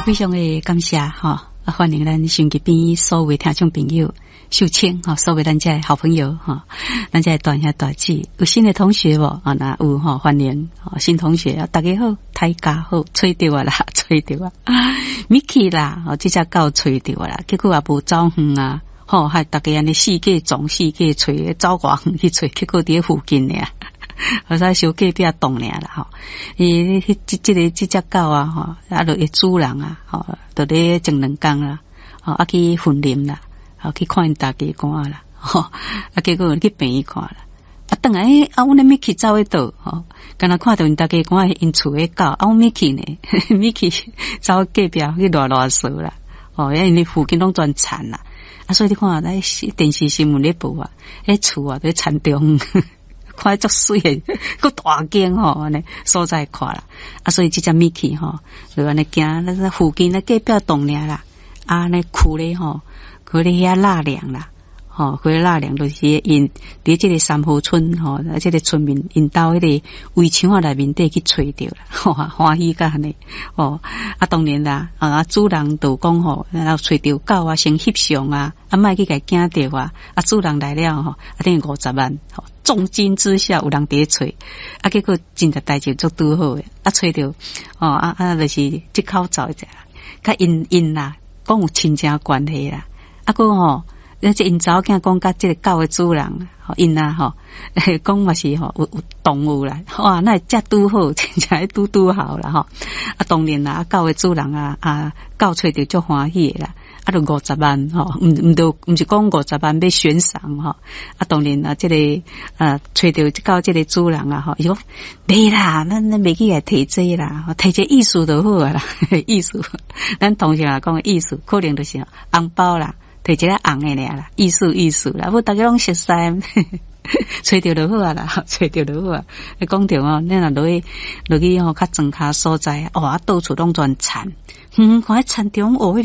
非常的感謝吼，啊，歡迎咱收音機邊所有聽眾朋友，秀清吼，所有咱遮的好朋友吼，咱遮的大兄大姊，有新的同學無？啊，若有吼，歡迎新同學啊，大家好，大家好，揣著啊啦，揣著啊，Mickey 啦，哦，這隻狗揣著啊啦，結果也無走遠啊，吼，害逐家按呢四界撞四界揣，走偌遠去揣，結果佇咧附近爾。好彩小隔壁棟爾啦吼，伊彼這這个這隻狗啊吼，啊，就伊主人啊，吼，就咧前兩工啦，吼，啊去雲林啦，吼去看𪜶大家官啦，吼，啊結果去病院看啦，啊轉來，欸，啊阮的 Mickey 走去佗，吼，敢若看著𪜶大家官𪜶厝的狗，啊阮 Mickey 呢，Mickey 走隔壁去賴賴趖啦，吼，因為附近攏全田啦，啊所以你看，咱電視新聞咧報啊，彼厝啊佇田中。看足媠的，閣大間吼，按呢所在看啦。啊，所以這隻 Mickey 吼，就按呢行，那個附近咧隔壁棟爾啦，啊，按呢跍咧吼，跍咧遐納涼啦，吼，跍咧納涼就是𪜶佇這个三和村吼，啊，這个村民𪜶兜彼个圍牆仔內面底去揣著啦，吼，歡喜甲按呢，吼，啊，當然啦，啊，主人就講吼，然後揣著狗啊，先翕相啊，啊，莫去共驚著啊，啊，主人來了吼，啊，等於50萬，吼。重金之下有人佇咧揣，啊，結果真正代誌足拄好的，啊，揣著，哦，啊啊，就是這口罩者，佮𪜶𪜶啦，講有親情關係啦，啊，閣吼，這𪜶查某囝講佮這个狗的主人，吼，𪜶啊吼，講嘛是吼有有動物啦，哇，那會遮拄好，真正拄拄好啦吼，啊，當然啦，啊，狗的主人啊，啊，狗揣著足歡喜的啦。啊，就五十萬吼，毋毋著毋是講五十萬欲懸賞吼，啊，當然啊，這个啊，揣著狗這个主人啊吼，伊講袂啦，咱咱袂去共提這啦，提這意思就好啊啦，意思，咱通常來講意思，可能就是紅包啦，提一個紅的爾啦，意思意思啦，無逐家攏熟似，揣著就好啊啦，揣著就好啊。你講著哦，你若落去落去吼，較莊跤所在，哇，到處攏全田，遠遠看彼田中哦，彼個。